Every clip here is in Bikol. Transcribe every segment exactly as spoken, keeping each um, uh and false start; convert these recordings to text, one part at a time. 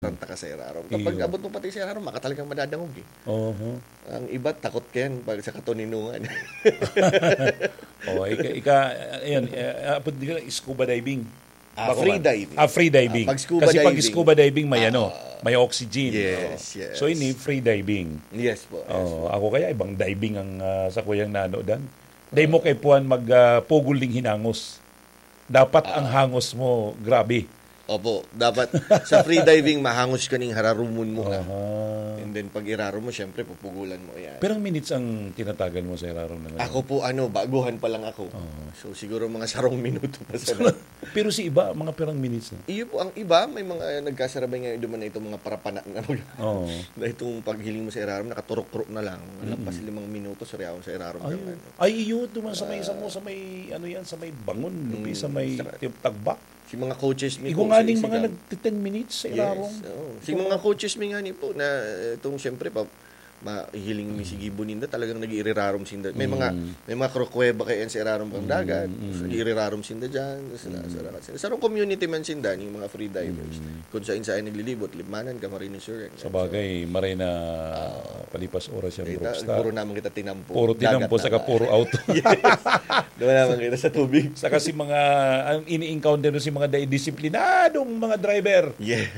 Taranta ka sa irarom. Kapag Iyo. abot mo pati sa irarom, maka talagang madadangog eh. Oho. Ang iba, takot ka yan pag sa katoninungan. Oh, ika, ika, ayun, eh, apod nila scuba diving. Ah, Bako free ba? Diving. Ah, free diving. Ah, pag scuba Kasi pag diving. scuba diving, may Ah, ano, may oxygen. Yes, Oo. Yes. So, ini free diving. Yes po. Yes Oh, po. Ako kaya ibang diving ang ah, sa kuyang nano dan. Dai mo kay puan mag ah, pugol ning hinangos. Dapat ang hangos mo, grabe. Opo, dapat sa free diving, mahangos ka ning hararumon mo na. Aha. And then pag irarom mo, syempre, pupugulan mo yan. Pirang minutes ang tinatagan mo sa irarom na ngayon? Ako po, ano, baguhan pa lang ako. Oo. So, siguro mga sarong minuto pa sa Pero si iba, mga pirang minutes na. Iyo po, ang iba, may mga nagkasarabay ngayon duman na itong mga parapana na, mag- Oo. na itong paghiling mo sa irarom, nakaturok-turok na lang. Lampas limang minuto, sariyaw sa irarom Ay, ng ano. Ay, iyo, duman sa may, sa mo, sa may, ano yan, sa may bangon, lubi, sa may saka- tip- tagbak. Si mga coaches mi Igo po, nga sa ning mga Isigan. nagti-ten minutes sa Yes, irarom. Oo. Si mga coaches mi nga ni po, na eh, itong siyempre, pa, mahihiling mi si gibo ninda, talagang nag-iirirarom sinda. May mga may mga krukweba kaya yan sa irarom ng dagat. Nag-iirirarom sinda dyan. Sa, sa, sa, sa, sa community man sinda, yung mga free divers. Kung saan saan naglilibot, Libmanan, Camarines Sur. Yan. Sa bagay, maray na palipas oras yung Ita, Brookstar. Puro naman kita tinampo. Puro tinampo, Dagat saka na. Puro auto. Yes. Doon naman kita sa tubig. Saka si mga, ang ini-encounter mo si mga dai-, disiplinadong mga driver. Yeah.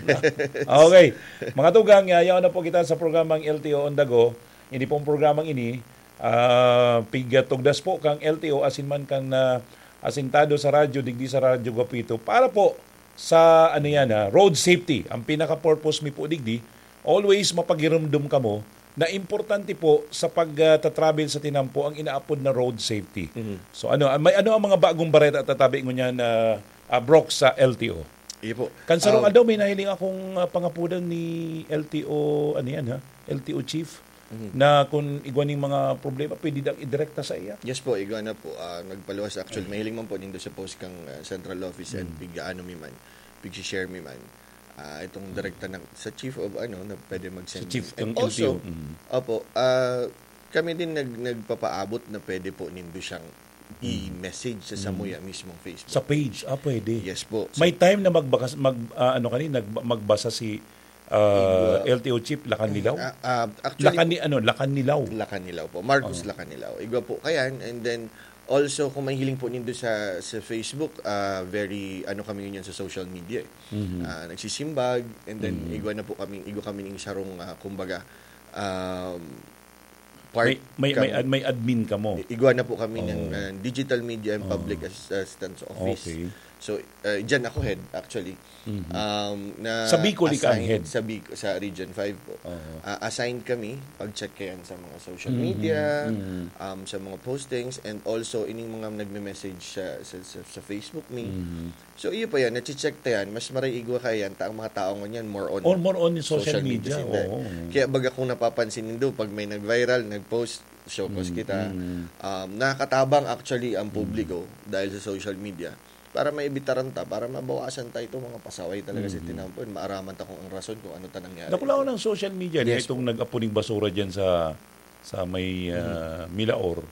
Okay. Mga tugang, yayaw na po kita sa programang L T O on the Go. Ini pong programang ini, ah, pigtugdas po kang L T O asin man kan ah, asintado sa radyo, digdi sa Radyo Guapito, para po sa, ano yan, ha, road safety. Ang pinaka-purpose mi po digdi, always mapagirumdom kamo na importante po sa pagta-travel sa tinampo ang inaapod na road safety. So ano, may ano ang mga bagong bareta tatabi ngunyan na ah, Brock sa L T O? Iyo po. Kan sarong Ah, aldaw, may nahiling akong ah, pangapudan ni L T O, ano yan ha? L T O chief, na kung igwa ning mga problema, pwede dang idirekta sa iya. Yes po, igwa na po. Ah, nagpaluwas. Actually, mahiling man po nindo sa post kang ah, central office and pig-ano mi man, pig-share mi man. Ah, itong direkta na sa chief of ano, na pwede mag-send. Sa chief And ng also, L T O. Mm. Opo, ah, kami din nag, nagpapaabot na pwede po nindo siyang i-message sa Samuya mismong Facebook. Sa page, ah, pwede. Yes po. May time na magbakas, mag, ah, ano kani, nag, magbasa si ah, Igwa. L T O chief, Lacan Nilao? Ah, ah, actually, Lacan ni, ano, Lacan Nilao. Lacan Nilao po. Marcos Lacan Nilao. Igwa po kayan. And then, also, kung mahiling po nindo sa, sa Facebook, ah, very, ano kami yun sa social media eh. Ah, nagsisimbag, and then, igwa na po kami, igwa kami ng sarong, ah, kumbaga, um, part May, may, may, kang- ad- may admin ka mo. Igwa na po kami ng uh, Digital Media and Public Assistance Office. Okay. So, uh, dyan ako head, actually. Um, na Sa Bicol, ika ang assigned head? Sa, Bic- sa Region five po. Oo. Uh, assigned kami, pag-check kayan sa mga social media, um, sa mga postings, and also ining mga nagme-message sa, sa, sa, sa Facebook me. So, iyo pa yan, nache-check ta yan, mas maray igwa kaya yan, ta ang mga tao ngunyan, more on Or more on social media, sinda. Oo. Kaya baga kung napapansin nindo, pag may nag-viral, nag-post, show cause kita. Um, nakakatabang actually ang publiko dahil sa social media para maibitaran ta, para mabawasan ta itong mga pasaway talaga sa tinampo. Maaraman ta kung ang rason kung ano ta nangyari. Nakulaon ng social media, Yes yes, itong nag-apuning basura dyan sa sa may ah, Milaor.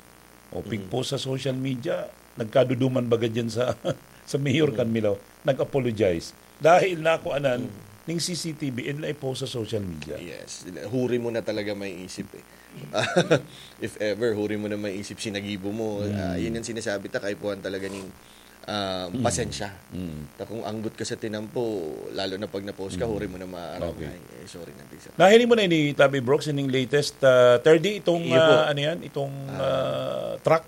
O pigpost sa social media, nagkaduduman baga dyan sa sa mayor kan Milaor. Nag-apologize. Dahil nakuanan ning C C T V and na-post sa social media. Yes. Huri mo na talaga may isip eh. If ever, huri mo na may isip, sinagibo mo. Ah, yun ang sinasabi ta, kaipuhan talaga ning ah, pasensya. Ta kung anggot ka sa tinampo, lalo na pag na-post ka, huri mo na maaram. Okay. Ay, eh, sorry na, Tisa. Nahiling mo na ini, Tabi Brooks, ining latest ah, thirty, itong Iyo po. ah, ano yan, itong ah, truck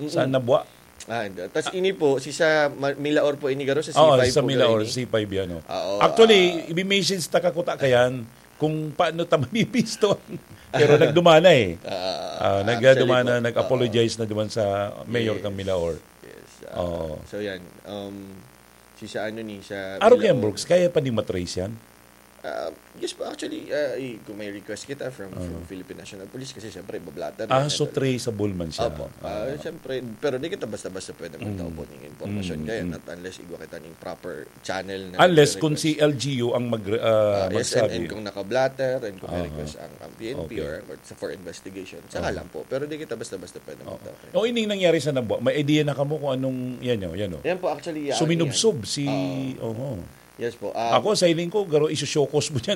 sa Nabua. Ah, tas ini po, si sa Ma- Milaor po ini garo sa Oo, C five sa po Milaor, garo ini. C five yan. Oh. Oo, Actually, ibi-message ta kakuta kayan kung paano ta mabipiston. Pero nagduman na eh. Ah, Ah, actually nagduman po, na, oo. nag-apologize na duman sa mayor Yes. kang Milaor. Yes. ah, Oo. So yan. Um, si sa ano ni sa Aro kaya, Milaor. Brooks, kaya pa ni matrace yan? Ah, yes po, actually, ah, i- kung may request kita from, from Philippine National Police, kasi siyempre, bablatter Ah, yan, so eh. traceable man siya. Opo. Ah, siyempre, pero di kita basta-basta pwede magtao po ng impormasyon Mm. kaya, not unless igwa kita ng proper channel na Unless kung request. si L G U ang mag, ah, Ah, yes, and, magsabi. and kung naka-blotter, and kung may Aha. request ang, ang P N P Okay. or, or sa, for investigation, saka lang po. Pero di kita basta-basta pwede magtao. O, ining nangyari sa Nabua, may idea na kamo kung anong, yan o, yan o. Yan po, actually, ah, Suminubsob yan. si, Oo. oho. Yes po. ah, Ako, sa hiling ko, garo, isushowcause mo dyan.